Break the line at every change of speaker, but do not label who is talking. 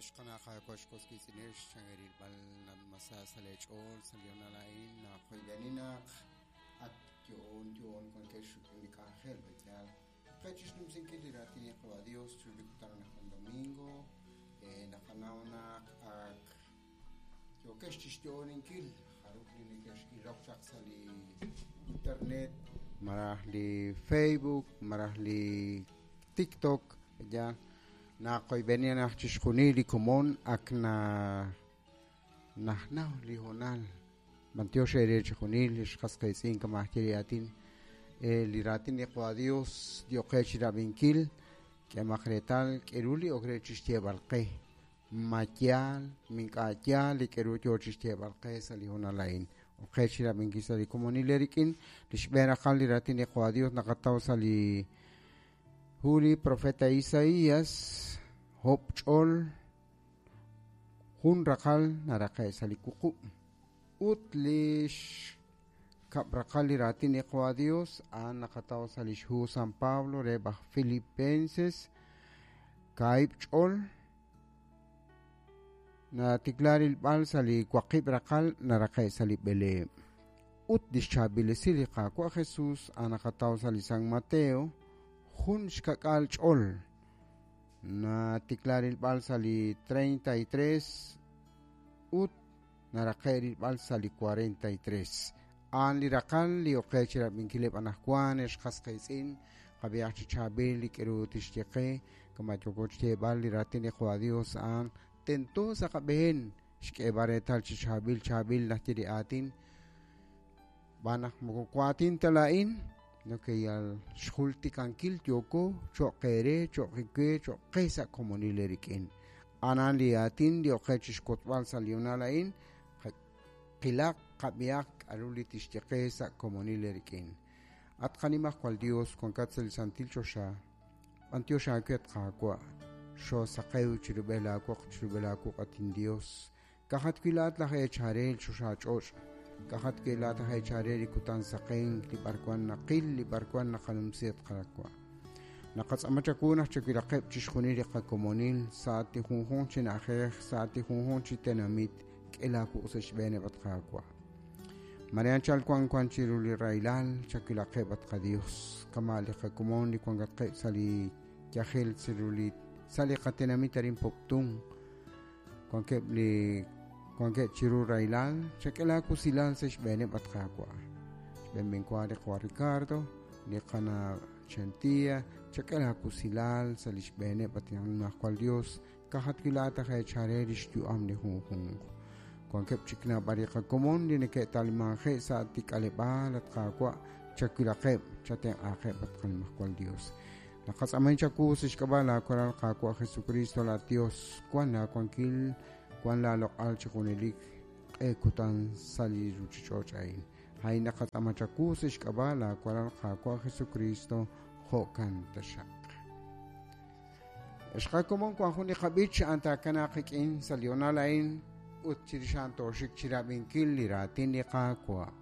Xqana Qaawa' xk'osk'itz'inex changerilb'al masa sa' leech'ool sa' li honal a'in naqoyb'eni naq ak yo'oon yo'oon wankex rik'in li k'anjel b'eyaal qe chixnumsinkil li raatin li Qawa' Dios chiru li kutan anaqwan domingo naqanaw naq ak yookex chixyo'oninkil jarub' li nekex'ilok chaq sa' li internet malaj li Facebook malaj li TikTok ya naqoyb'eni naq chixjunil li komon ak na najnaw li hoonal b'antiox eere chixjunil li xqas qiitz'in kama aj ye li aatin li raatin li Qawa' Dios yo'qe chirab'inkil k'emaq reetal k'eru li ok re chixyeeb'al qe ma yaal ma ink'a' yaal li k'eru yoo chixyeeb'al qe sa' li hoonal a'in ok qe chirab'inkil sa' li komonil eerik'in li xb'een raqal li raatin li Qawa' Dios naqataw sa' li hu li profeta Isaías hob' ch'ol jun raqal naraqe' sa' li wuqub' ut li xkab' raqal li raatin li Qawa' Dios a'an naqataw sa' li xhu San Pablo re b'aj Filipenses kaahib' ch'ol natikla rilb'al sa' li waqib' raqal naraqe' sa' li b'eleeb' ut li xchaab'ilesi li Qaawa' Jesus a'an naqataw sa' li San Mateo jun xka'k'aal ch'ol natikla rilb'al sa' li 33 ut naraqe' rilb'al sa' li 43 a'an li raqal li oqe chirab'inkileb' anaqwan ex qas qiitz'in qab'ihaq chi chaab'il li k'eru tixye qe kama yooko xyeeb'al li raatin li Qawa' Dios a'an tento sa' qab'een xk'eeb'al reetal chi chaab'il chaab'il najye li aatin b'aan naq moko waatin ta laa'in no ke yal xjultikankil yooko cho'q eere cho'q we cho'q qe sa' komonil eerik'in a'an li aatin li oqe chixk'utb'al sa' li honal a'in qilaq qab'ihaq k'aru li tixye qe sa' komonil eerik'in at qanimajwal Dios wankat sa' li santil choxa b'antiox aawe at Qaawa' xoosaqew chirub'el aawoq chirub'el aawuq at inDios kajat wi' laa'at laj eecharel choxa ch'och' kajat wi' laa'at aj eecharel li kutan saqenk li b'arwan naqil li b'arwan naqanumsi at Qaawa' naqatz'ama chawu naq chawilaqeb' chixjunil li qakomonil sa' li junjunq chi na'ajej sa' li junjunq chi tenamit k'e laawuq' sa' xb'eeneb' at Qaawa' Marian chal wan wan chiru li rahilal chawilaqeb' at qaDios kama' li qakomon li wankatqeb' sa' li yajel chiru li sa' li qatenamit arin Poptún wankeb' li wankeb' chiru rahilal chak'e laawusilal sa' xb'eeneb' at Qaawa' xb'een b'enwa li Qawa' Ricardo li qana Chantia chak'e laawusilal sa' li xb'eeneb' at Nimajwal Dios kajat wi' laa'at aj eechare li xyu'am li junjunq wankeb' chik naab'al li qakomon li neke'talimanje' sa' tik'aleb'aal at Qaawa' chawilaqeb' chatenq'aaqeb' at Qanimajwal Dios naqatz'amen chawu sa' xk'ab'a' laawaral Qaawa' Jesucristo la Dios wan laawankil wan laaloq'al chi junelik q'e kutan sa' li ruuchich'och' a'in a'in naqatz'ama chawu sa' xk'ab'a' laawaral Qaawa' Jesucristo jo'kan taxaq ex qakomon wan jun li qab'ich a'an taakanaaq qik'in sa' li honal a'in ut chirix a'an tooxik chirab'inkil li raatin li Qaawa'.